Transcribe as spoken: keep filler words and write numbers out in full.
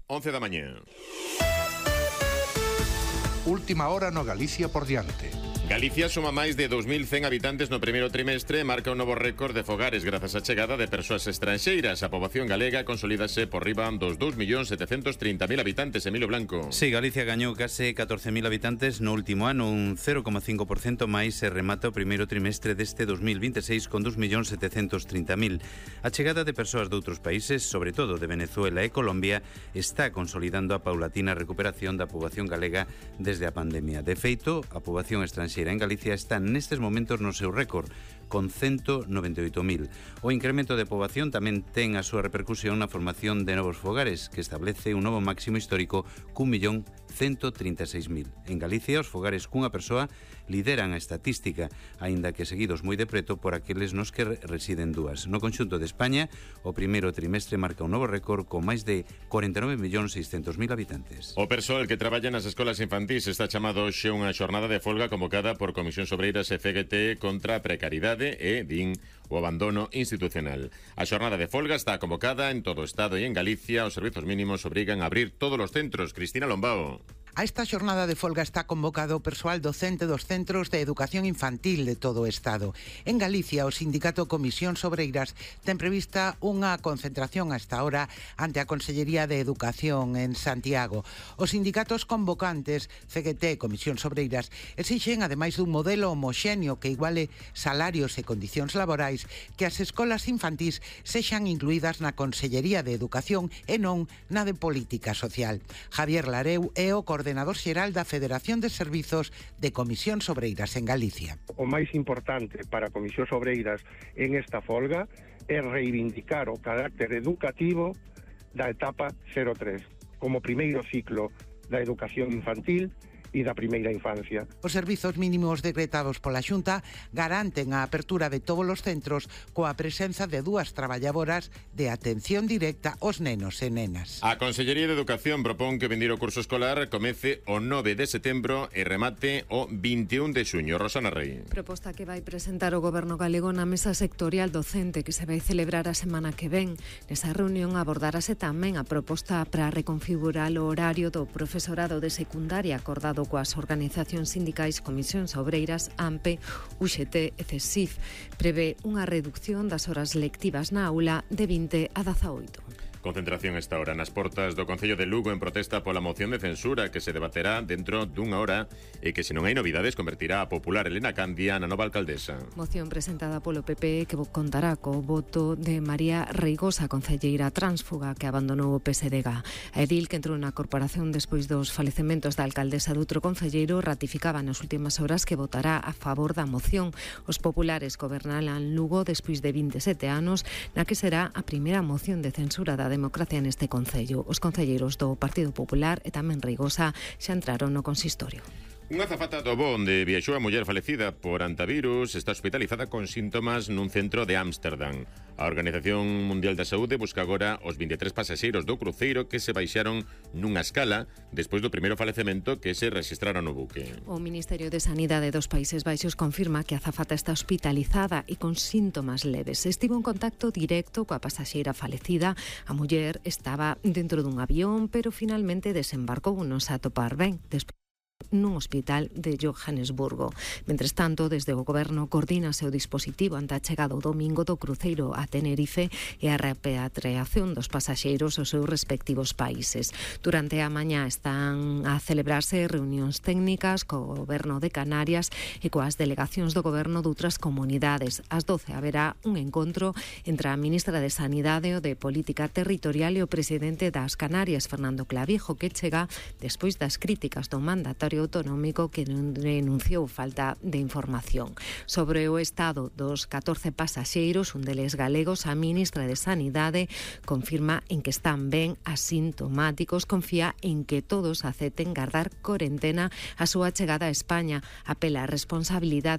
once da mañá. Última hora no Galicia por diante. Galicia suma máis de dos mil cen habitantes no primeiro trimestre e marca un novo récord de fogares grazas á chegada de persoas estranxeiras. A poboación galega consolídase por riba dos dous millóns setecentos trinta mil habitantes, Emilio Blanco. Sí, Galicia gañou case catorce mil habitantes no último ano, un cero coma cinco por cento máis se remata o primeiro trimestre deste dos mil veintiséis con dos millóns setecentos trinta mil. A chegada de persoas de outros países, sobre todo de Venezuela e Colombia, está consolidando a paulatina recuperación da poboación galega desde a pandemia. De feito, a poboación estranxeira en Galicia está nestes momentos no seu récord, con ciento noventa e oito mil. O incremento de poboación tamén ten a súa repercusión na formación de novos fogares, que establece un novo máximo histórico cun millón ciento trinta e seis mil. En Galicia, os fogares cunha persoa lideran a estatística, aínda que seguidos moi de preto por aqueles nos que residen dúas. No conxunto de España, o primeiro trimestre marca un novo récord con máis de cuarenta e nove millóns seiscentos mil habitantes. O persoal que traballa nas escolas infantís está chamado hoxe unha xornada de folga convocada por Comisións Obreiras e C G T contra a precariedade e, din, o abandono institucional. A xornada de folga está convocada en todo o Estado e en Galicia os servizos mínimos obrigan a abrir todos os centros. Cristina Lombao. A esta xornada de folga está convocado o persoal docente dos centros de educación infantil de todo o Estado. En Galicia, o sindicato Comisións Obreiras ten prevista unha concentración a esta hora ante a Consellería de Educación en Santiago. Os sindicatos convocantes, C G T e Comisións Obreiras, exixen, ademais dun modelo homoxéneo que iguale salarios e condicións laborais, que as escolas infantís sexan incluídas na Consellería de Educación e non na de Política Social. Javier Lareu é o coordenador coordenador xeral da Federación de Servizos de Comisións Obreiras en Galicia. O máis importante para Comisións Obreiras en esta folga é reivindicar o carácter educativo da etapa cero tres, como primeiro ciclo da educación infantil e da primeira infancia. Os servizos mínimos decretados pola Xunta garanten a apertura de todos os centros coa presenza de dúas traballadoras de atención directa aos nenos e nenas. A Consellería de Educación propón que o vindeiro curso escolar comece o nove de setembro e remate o vinte e un de xuño. Rosana Rey. Proposta que vai presentar o Goberno galego na mesa sectorial docente que se vai celebrar a semana que ven. Nesa reunión abordarase tamén a proposta para reconfigurar o horario do profesorado de secundaria acordado coas organizacións sindicais Comisións Obreiras, A M P, U X T e CESIF. Prevé unha reducción das horas lectivas na aula de vinte a dezaoito. Concentración esta hora nas portas do Concello de Lugo en protesta pola moción de censura que se debaterá dentro dunha hora e que, se non hai novidades, convertirá a popular Elena Candia na nova alcaldesa. Moción presentada polo P P que contará co voto de María Reigosa, concelleira tránsfuga que abandonou o P S D G. A edil, que entrou na corporación despois dos falecementos da alcaldesa de outro concelleiro, ratificaba nas últimas horas que votará a favor da moción. Os populares gobernaran Lugo despois de vinte e sete anos, na que será a primeira moción de censura da democracia neste concello. Os concelleiros do Partido Popular e tamén Reigosa xa entraron no consistorio. Unha azafata do Bo, onde viaxou a muller falecida por antivirus, está hospitalizada con síntomas nun centro de Ámsterdam. A Organización Mundial da Saúde busca agora os vinte e tres pasaxeiros do cruceiro que se baixaron nunha escala despois do primeiro falecemento que se registraron no buque. O Ministerio de Sanidade dos Países Baixos confirma que a azafata está hospitalizada e con síntomas leves. Estivo en contacto directo coa pasaxeira falecida. A muller estaba dentro dun avión, pero finalmente desembarcou nos a topar ben despois nun hospital de Johannesburgo. Mentres tanto, desde o Goberno coordínase o dispositivo ante a chegada o domingo do cruceiro a Tenerife e a repatriación dos pasaxeiros aos seus respectivos países. Durante a mañá están a celebrarse reunións técnicas co Goberno de Canarias e coas delegacións do Goberno de outras comunidades. Ás doce haberá un encontro entre a ministra de Sanidade e de Política Territorial e o presidente das Canarias, Fernando Clavijo, que chega despois das críticas do mandatario autonómico que denunciou falta de información. Sobre o estado dos catorce pasaxeiros, un deles galegos, a ministra de Sanidade confirma en que están ben asintomáticos, confía en que todos acepten gardar corentena a súa chegada a España, apela a responsabilidade